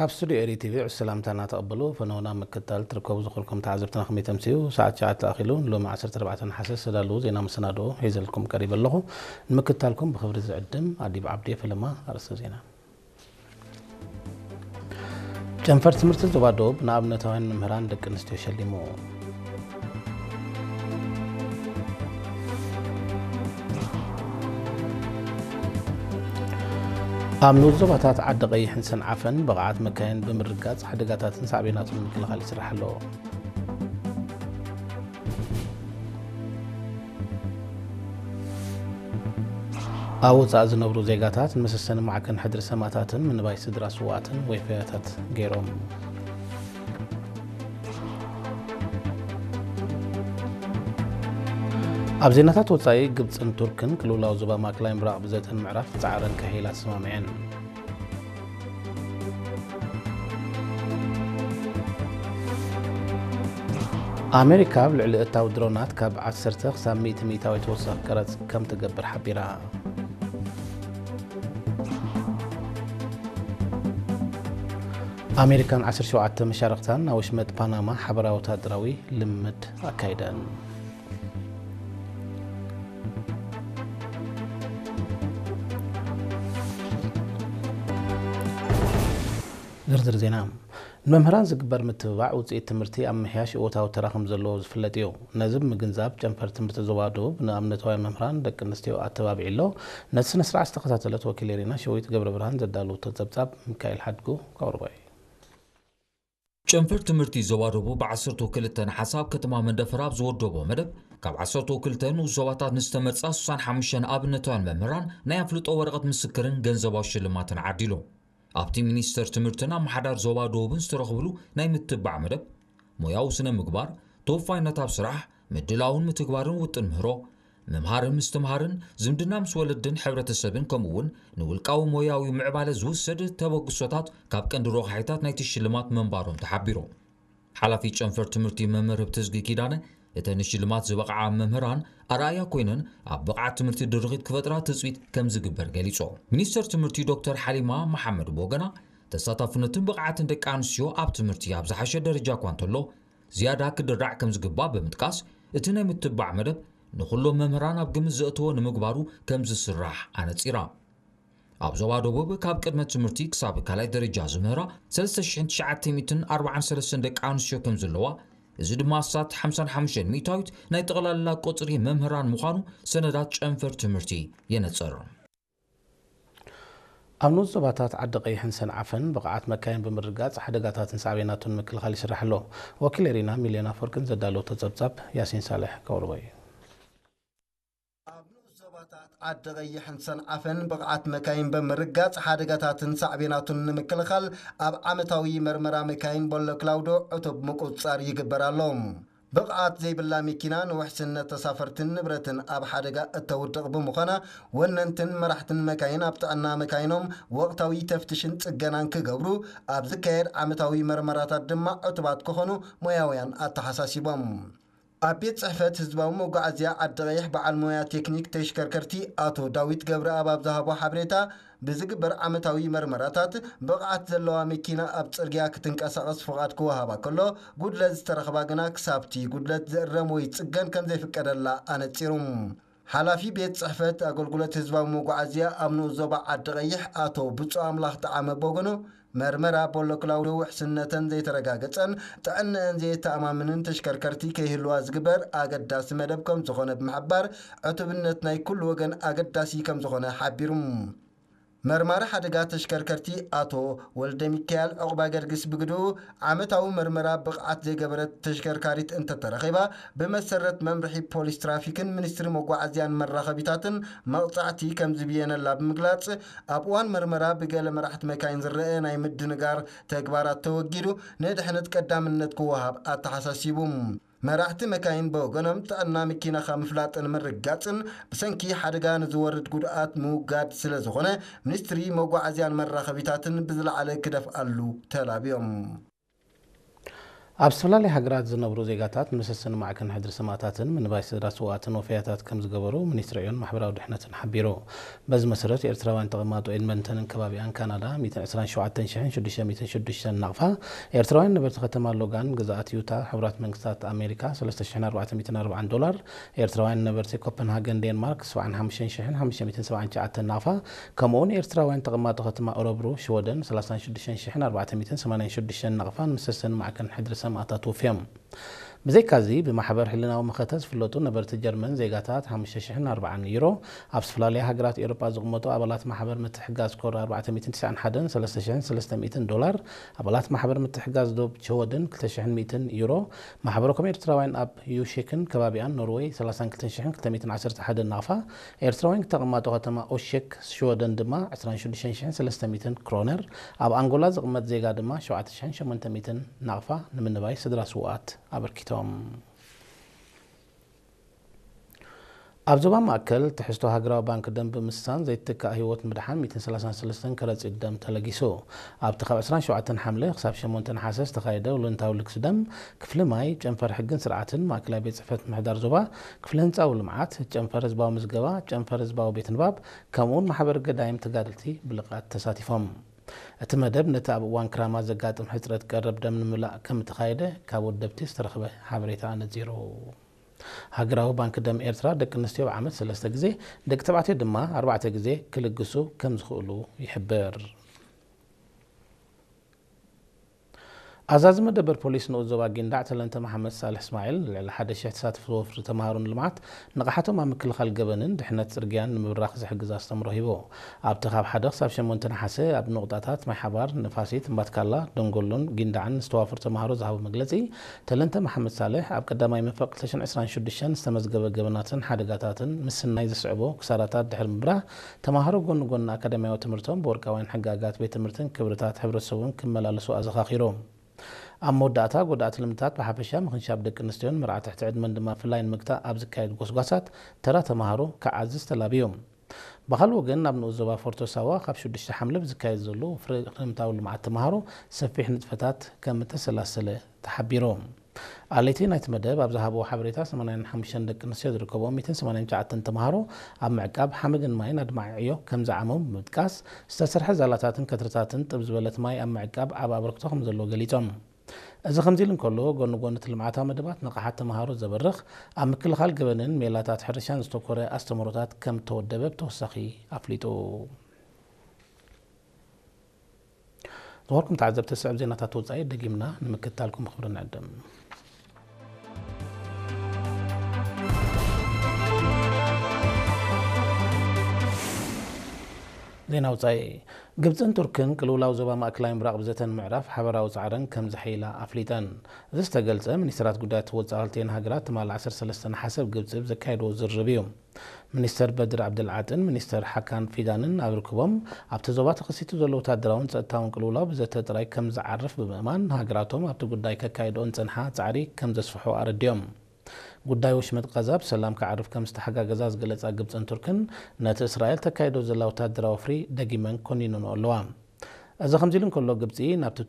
ካብ ስቱዲዮ ኤሪ ቲቪ ዕስ ሰላምታና ተቐበሉ። ፈነውና ምክታል ትርከቡ ዝኾንኩም ተዓዘብትና ከመይ ተምስዩ? ሰዓት ትሽዓተ ኣኺሉ ንሎሚ ዓሰርተ ኣርባዕተ ነሓሰ ዝተዳለዉ ዜና መሰናድኦ ሒዘልኩም ቀሪበ ኣለኹ። ንምክታልኩም ብኽብሪ ዝዕድም ኣዲብ ዓብዲ። ፈለማ ኣርእስተ ዜና። ጨንፈር ትምህርቲ ዞባ ደቡብ ንኣብነታውያን መምህራን ደቂ ኣንስትዮ ሸሊሙ። ኣብ ንኡስ ዞባታት ዓዲ ቀይሕን ሰንዓፈን ብቕዓት መካይን ብምርጋጽ ሓደጋታትን ሳዕቤናቱን ንምክልኻል ይስራሕ ኣሎ። ኣብ ወጻኢ ዝነብሩ ዜጋታት ንመሰሰኒ ማዕከን ሕድሪ ሰማእታትን ምንባይ ስድራ ስውኣትን ወይፈያታት ገይሮም። ኣብ ዜናታት ወጻኢ፣ ግብጽን ቱርክን ቅልውላው ዞባ ማእከላይ ምብራቕ ብዘተን ምዕራፍ ጻዕረን ከሄላ ተሰማሚዐን። ኣሜሪካ ኣብ ልዕሊ እታው ድሮናት ካብ ዓሰርተ ክሳብ ሚእቲ ሚእታዊት ተወሳኺ ቀረጽ ከም ትገብር ሓቢራ። ኣሜሪካን ዓሰርተ ሸውዓተ መሻርኽታን ናብ ወሽመጥ ፓናማ ሓበራዊ ወታደራዊ ልምምድ ኣካይደን። ዝርዝር ዜና። ንመምህራን ዝግበር ምትብባዕ ውፅኢት ትምህርቲ ኣብ ምሕያሽ እወታዊ ተራ ከም ዘለዎ ዝፍለጥ እዩ። ነዚ ብምግንዛብ ጨንፈር ትምህርቲ ዞባ ደቡብ ንኣብነታውያን መምህራን ደቂ ኣንስትዮ ኣተባቢዑ ኣሎ። ነቲ ስነ ስርዓት ዝተኸታተለት ወኪል ኤሪና ሸዊት ገብረ ብርሃን ዘዳለወቶ ጸብጻብ ሚካኤል ሓድጉ ከቕርቦ እዩ። ጨንፈር ትምህርቲ ዞባ ደቡብ ብ ዓሰርተ ክልተ ነሓሰ ኣብ ከተማ መንደፈራ ኣብ ዝወደቦ መደብ፣ ካብ ዓሰርተ ክልተ ንኡስ ዞባታት ንዝተመርጻ ስሳን ሓሙሽተን ኣብነታውያን መምህራን ናይ ኣፍልጦ ወረቐት ምስክርን ገንዘባዊ ሽልማትን ዓዲሉ። ኣብቲ ሚኒስተር ትምህርትን ኣመሓዳር ዞባ ደቡብን ዝተረኽብሉ ናይ ምትባዕ መደብ፣ ሞያዊ ስነ ምግባር፣ ተወፋይነት ኣብ ስራሕ፣ ምድላውን ምትግባርን ውጥን ምህሮ፣ ምምሃርን ምስትምሃርን፣ ዝምድና ምስ ወለድን ሕብረተሰብን፣ ከምኡ እውን ንውልቃዊ ሞያዊ ምዕባለ ዝውሰድ ተበግሶታት ካብ ቀንዲ ረቑሓታት ናይቲ ሽልማት መንባሮም ተሓቢሩ። ሓላፊ ጨንፈር ትምህርቲ መምህር ህብትዝጊ ኪዳነ፣ እተን ንሽልማት ዝበቕዓ መምህራን ኣርኣያ ኮይነን ኣብ ብቕዓት ትምህርቲ ድርኺት ክፈጥራ ትፅቢት ከም ዝግበር ገሊጾ። ሚኒስተር ትምህርቲ ዶክተር ሓሊማ መሓመድ ብወገና፣ ተሳታፍነትን ብቕዓትን ደቂ ኣንስትዮ ኣብ ትምህርቲ ኣብ ዝሓሸ ደረጃ እኳ እንተሎ፣ ዝያዳ ክድራዕ ከም ዝግባእ ብምጥቃስ፣ እቲ ናይ ምትባዕ መደብ ንኹሎም መምህራን ኣብ ግምት ዘእተወ ንምግባሩ ከም ዝስራሕ ኣነጺራ። ኣብ ዞባ ደቡብ ካብ ቅድመ ትምህርቲ ክሳብ ካልኣይ ደረጃ ዝምህራ ሰለስተ ሽሕን ትሽዓተ ሚእትን ኣርባዓን ሰለስተን ደቂ ኣንስትዮ ከም ዘለዋ፣ እዚ ድማ ኣስታት ሓምሳን ሓሙሽተን ሚእታዊት ናይ ጠቕላላ ቁጽሪ መምህራን ምዃኑ ሰነዳት ጨንፈር ትምህርቲ የነጽር። ኣብ ንኡስ ዞባታት ዓዲ ቀይሕን ሰንዓፈን ብቕዓት መካይን ብምርጋጽ ሓደጋታትን ሳዕቤናቱን ምክልኻል ይስራሕ ኣሎ። ወኪል ኤሪና ሚልዮን ኣፈወርቅን ዘዳለወቶ ጸብጻብ ያሲን ሳልሕ ከቕርቦ እዩ። ኣብ ንኡስ ዞባታት ዓዲ ቀይሕን ሰንዓፈን ብቕዓት መካይን ብምርጋጽ ሓደጋታትን ሳዕቤናቱን ንምክልኻል ኣብ ዓመታዊ መርመራ መካይን ቦሎ ክላውዶ ዕቱብ ምቁጽጻር ይግበር ኣሎ። ብቕዓት ዘይብላ መኪና ንውሕስነት ተሳፈርትን ንብረትን ኣብ ሓደጋ እተውድቕ ብምዃና፣ ወነንትን መራሕትን መካይን ኣብ ጥዕና መካይኖም ወቕታዊ ተፍትሽን ጽገናን ክገብሩ፣ ኣብ ዝካየድ ዓመታዊ መርመራታት ድማ ዕቱባት ክኾኑ ሞያውያን ኣተሓሳሲቦም። ኣብ ቤት ጽሕፈት ህዝባዊ መጓዓዝያ ዓዲ ቀይሕ በዓል ሞያ ቴክኒክ ተሽከርከርቲ ኣቶ ዳዊት ገብረኣብ ኣብ ዝሃቦ ሓበሬታ፣ ብዝግበር ዓመታዊ መርመራታት ብቕዓት ዘለዋ መኪና ኣብ ጽርግያ ክትንቀሳቐስ ፍቓድ ክወሃባ ከሎ፣ ጉድለት ዝተረኽባ ግና ክሳብቲ ጉድለት ዝእረም ወይ ዝጽገን ከም ዘይፍቀደላ ኣነጺሩ። ሓላፊ ቤት ጽሕፈት ኣገልግሎት ህዝባዊ መጓዓዝያ ኣብ ንኡስ ዞባ ዓዲ ቀይሕ ኣቶ ብጹእ ኣምላኽ ጠዓመ በወገኑ፣ መርመራ ቦሎ ክላውዶ ውሕስነተን ዘይተረጋገጸን ጥዕነአን ዘየተኣማምንን ተሽከርከርቲ ከይህልዋ ዝግበር ኣገዳሲ መደብ ከም ዝኾነ ብምሕባር፣ ዕቱብነት ናይ ኩሉ ወገን ኣገዳሲ ከም ዝኾነ ሓቢሩ። መርማሪ ሓደጋ ተሽከርከርቲ ኣቶ ወልደሚካኤል ዑቕባገርግስ ብግድኡ፣ ዓመታዊ መርመራ ብቕዓት ዘይገበረት ተሽከርካሪት እንተተረኺባ፣ ብመሰረት መምርሒ ፖሊስ ትራፊክን ሚኒስትሪ መጓዓዝያን መራኸቢታትን መቕጻዕቲ ከም ዝብየነላ ብምግላጽ፣ ኣብ እዋን መርመራ ብገለ መራሕቲ መካይን ዝረኣ ናይ ምድንጋር ተግባራት ተወጊዱ፣ ንድሕነት ቀዳምነት ክወሃብ ኣተሓሳሲቡ። መራሕቲ መካይን ብወገኖም፣ ጥዕና መኪናኻ ምፍላጥን ምርጋጽን ብሰንኪ ሓደጋ ንዝወርድ ጉድኣት ምውጋድ ስለ ዝኾነ፣ ሚኒስትሪ መጓዓዝያን መራኸቢታትን ብዝለዓለ ክደፍኣሉ ተላብዮም። ኣብ ዝተፈላለያ ሃገራት ዝነብሩ ዜጋታት ንመሰሰኒ ማዕከን ሕድሪ ሰማእታትን ምንባይ ስድራ ስውኣትን ወፈያታት ከም ዝገበሩ ሚኒስትሪ ዕዮን ማሕበራዊ ድሕነትን ሓቢሩ። በዚ መሰረት፣ ኤርትራውያን ተቐማጦ ኤድመንተንን ከባቢኣን ካናዳ ሚእትን ዕስራን ሸውዓተን ሽሕን ሽዱሽተ ሚእትን ሽዱሽተን ናቕፋ፣ ኤርትራውያን ነበርቲ ከተማ ሎጋን ግዝኣት ዩታ ሕቡራት መንግስታት ኣሜሪካ ሰለስተ ሽሕን ኣርባዕተ ሚእትን ኣርባዓን ዶላር፣ ኤርትራውያን ነበርቲ ኮፐንሃገን ዴንማርክ ሰብዓን ሓሙሽተን ሽሕን ሓሙሽተ ሚእትን ሰብዓን ትሽዓተን ናቕፋ፣ ከምኡውን ኤርትራውያን ተቐማጦ ከተማ ኦረብሩ ሽወደን ሰላሳን ሽዱሽተን ሽሕን ኣርባዕተ ሚእትን ሰማንያን ሽዱሽተን ናቕፋ ንመሰሰኒ ማዕከን ሕድሪ ሰማእታት ወፍዮም። ብዘይካዚ፣ ብማሕበር ሕልናዊ መኸተ ዝፍለጡ ነበርቲ ጀርመን ዜጋታት ሓሙሽተ ሽሕን ኣርባዓን ዩሮ፣ ኣብ ዝተፈላለያ ሃገራት ኤውሮጳ ዝቕመጡ ኣባላት ማሕበር ምትሕግጋዝ ኮር ኣርባዕተ ሚእትን ትስዓን ሓደን ሰለስተ ሽሕን ሰለስተ ሚእትን ዶላር፣ ኣባላት ማሕበር ምትሕግጋዝ ዶብ ሽወደን ክልተ ሽሕን ሚእትን ዩሮ፣ ማሕበረኮም ኤርትራውያን ኣብ ዩሽክን ከባቢኣን ኖርወይ ሰላሳን ክልተን ሽሕን ክልተ ሚእትን ዓሰርተ ሓደን ናቕፋ፣ ኤርትራውያን ተቐማጦ ከተማ ኦሽክ ሽወደን ድማ ዕስራን ሽዱሽተን ሽሕን ሰለስተ ሚእትን ክሮነር፣ ኣብ ኣንጎላ ዝቕመጥ ዜጋ ድማ ሸውዓተ ሽሕን ሸሞንተ ሚእትን ናቕፋ ንምንባይ ስድራ ስውኣት ኣበርኪቶም። ኣብ ዞባ ማእከል፣ ትሕዝቶ ሃገራዊ ባንክ ደም ብምስሳን ዘይትካእ ህይወት ምድሓን ሚእትን ሰላሳን ሰለስተን ከረጺት ደም ተለጊሱ። ኣብቲ ካብ ዕስራን ሸውዓተን ሓምለ ክሳብ ሸሞንተ ነሓሰ ዝተኻየደ ወለንታዊ ልግሲ ደም፣ ክፍሊ ማይ፣ ጨንፈር ሕግን ስርዓትን ማእከላይ ቤት ጽሕፈት ምምሕዳር ዞባ፣ ክፍሊ ህንጻዊ ልምዓት፣ ጨንፈር ህዝባዊ ምዝገባ፣ ጨንፈር ህዝባዊ ቤት ንባብ፣ ከምኡውን ማሕበር ገዳይም ተጋደልቲ ብልቓት ተሳቲፎም። እቲ መደብ ነቲ ኣብ እዋን ክራማት ዘጋጥም ሕጽረት ቀረብ ደም ንምምላእ ከም እተኻየደ ካብ ወደብቲ ዝተረኽበ ሓበሬታ ኣነጺሩ። ሃገራዊ ባንክ ደም ኤርትራ ደቂ ኣንስትዮ ብዓመት ሰለስተ ግዜ፣ ደቂ ተባዕትዮ ድማ ኣርባዕተ ግዜ ክልግሱ ከም ዝኽእሉ ይሕብር። ኣዛዚ መደበር ፖሊስ ንኡስ ዞባ ጊንዳዕ ተለንተ መሓመድ ሳልሕ እስማዒል፣ ልዕሊ ሓደ ሽሕ ተሳተፍቲ ወፍሪ ተምሃሮ ንልምዓት ንቕሓቶም ኣብ ምክልኻል ገበንን ድሕነት ጽርግያን ንምብራኽ ዝሕግዝ ኣስተምህሮ ሂቡ። ኣብቲ ካብ ሓደ ክሳብ ሸሞንተ ነሓሰ ኣብ ንቑጣታት ማይ ሓባር፣ ንፋሲት፣ እምባትካላ፣ ደንጎሎን ጊንዳዕን ንዝተዋፈሩ ተምሃሮ ዝሃቦ መግለጺ፣ ተለንተ መሓመድ ሳልሕ ኣብ ቀዳማይ መንፈቕ ክልተ ሽሕን ዕስራን ሽዱሽተን ዝተመዝገበ ገበናትን ሓደጋታትን ምስናይ ዘስዕቦ ክሳራታት ድሕሪ ምብራህ፣ ተምሃሮ ጎኒ ጎኒ ኣካዳሚያዊ ትምህርቶም ብወርቃውያን ሕግጋት ቤት ትምህርትን ክብርታት ሕብረተሰቡን ክመላለሱ ኣዘኻኺሩ። ኣብ መወዳእታ፣ ጎዳእቲ ልምድታት ብሓፈሻ ምኽንሻብ ደቂ ኣንስትዮን መርዓ ትሕቲ ዕድመን ድማ ብፍላይ ንምግታእ ኣብ ዝካየድ ጎስጓሳት ተራ ተምሃሮ ክዓዝዝ ተላብዩ። ብኻልእ ወገን፣ ኣብ ንኡስ ዞባ ፎርቶ ሳዋ ካብ ሽዱሽተ ሓምለ ብዝካየድ ዘሎ ፍረ-፣ ክረምታዊ ልምዓት ተምሃሮ ሰፊሕ ንጥፈታት ከም እተሰላሰለ ተሓቢሩ። ኣለይቲ ናይቲ መደብ ኣብ ዝሃብዎ ሓበሬታ፣ ሰማንያን ሓሙሽተን ደቂ ኣንስትዮ ዝርከብኦም ሚእትን ሰማንያን ትሽዓተን ተምሃሮ ኣብ ምዕቃብ ሓመድን ማይን ኣድማዒ ዕዮ ከም ዝዓመሙ ብምጥቃስ፣ ዝተሰርሐ ዛላታትን ከትርታትን ጥብ ዝበለት ማይ ኣብ ምዕቃብ ዓቢ ኣበርክቶ ከም ዘለዎ ገሊጾም። እዚ ከምዚ ኢሉ እንከሎ፣ ጎኒ ጎኒ እቲ ልምዓታዊ መደባት ንቕሓት ተምሃሮ ዘበርኽ፣ ኣብ ምክልኻል ገበንን ሜላታት ሕርሻን ዝተኮረ ኣስተምህሮታት ከም እተወደበ ብተወሳኺ ኣፍሊጡ። ዝኸበርኩም ተዓዘብቲ፣ ዝስዕብ ዜናታት ወጻኢ ደጊምና ንምክትታልኩም ብኽብሪ ንዕድም። ዜና ወጻኢ። ግብጽን ቱርክን ቅልውላው ዞባ ማእከላይ ምብራቕ ብዘተን ምዕራፍ ሓበራዊ ጻዕረን ከም ዘሐይላ ኣፍሊጠን። እዚ ዝተገልጸ፣ ሚኒስትራት ጉዳያት ወጻኢ ክልቲኤን ሃገራት ትማሊ ዓሰርተ ሰለስተ ነሓሰ ኣብ ግብጺ ብዘካየድዎ ዝርርብ እዩ። ሚኒስተር በድር ዓብደልዓጥን ሚኒስተር ሓካን ፊዳንን ኣብ ርክቦም፣ ኣብቲ ዞባ ተኸሲቱ ዘሎ ወታደራውን ጸጥታውን ቅልውላው ብዘተ ጥራይ ከም ዝዓርፍ ብምእማን፣ ሃገራቶም ኣብቲ ጉዳይ ከካይድኦ ዝጸንሓ ጻዕሪ ከም ዘስፍሑ ኣረዲኦም። ጉዳይ ወሽመጥ ቃዛ ብሰላም ክዓርፍ ከም ዝተሓጋገዛ ዝገለጻ ግብጽን ቱርክን፣ ነቲ እስራኤል ተካይዶ ዘላ ወታደራዊ ወፍሪ ደጊመን ኮኒነንኦ ኣለዋ። እዚ ከምዚ ኢሉ እንከሎ፣ ግብጺ ናብቲ